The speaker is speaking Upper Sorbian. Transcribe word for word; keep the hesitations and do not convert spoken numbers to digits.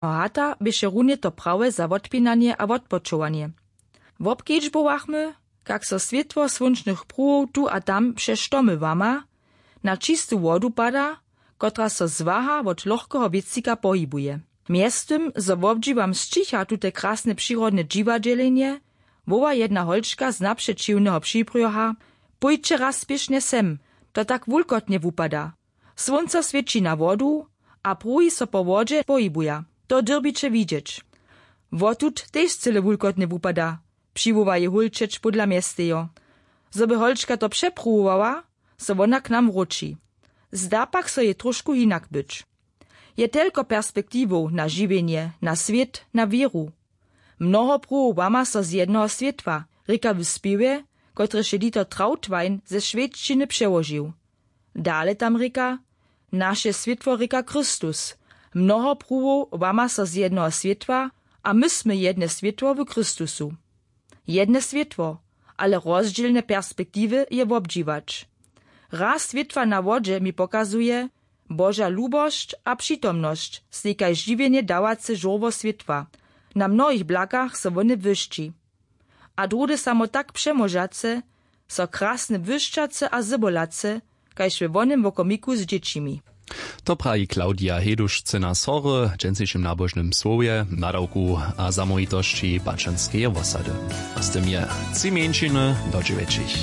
A hata běše runje to prawe za wotpinanje a wotpočowanje. Wobkedźbowachmy, kak so swětło słónčnych pruhow tu a tam přez štomy łama, na čistu wodu pada, kotraž so zwaha wot lochkeho wěcika pohibuje. Mjeztym zo wobdźiwam sćicha tute krasne přirodne dźiwadźelenje, woła jedna holčka z napřećiwneho přibrjoha: „Pójće raz spěšnje sem, to tak wulkotnje wupada. Słónco swěći na wodu a pruhi so po wodźe pohibuja. To dyrbiće widźeć. Wotud tež cyle wulkotnje wupada,“ přiwoła jej hólčeć pódla mjestejo. Zo by holčka to přepruwowała, so wona k nam wróći. Zda pak so jej tróšku hinak być. Je telko perspektiwow na žiwjenje, na swět, na wěru. Mnoho pruhow łama so z jednoho swětła, rěka w spěwje, kotryž je Dieter Trautwein ze šwedšćiny přełožił. Dale tam rěka: „Naše swětło rěka Chrystus. Mnoho pruhow łama so z jednoho swětła, a my smy jedne swětło w Chrystusu.“ Jedne swětło, ale rozdźělne perspektiwy je wobdźiwać. Raz swětła na wodźe mi pokazuje Boža lubosć a přitomnosć, stej kaž žiwjenje dawace žórło swětła. Na mnohich blakach so wone błyšći. A druhdy samo tak přemóžace, so krasne błyšćace a zybolace, kaž we wonym wokomiku z dźěćimi. To praji Claudia Heduš, cena Sory, w dźensnišim nabožnym słowje, nadawku a zamołwitosći Bačanskeje wosady. A z tym je tři mjeńšiny do dźewjećich.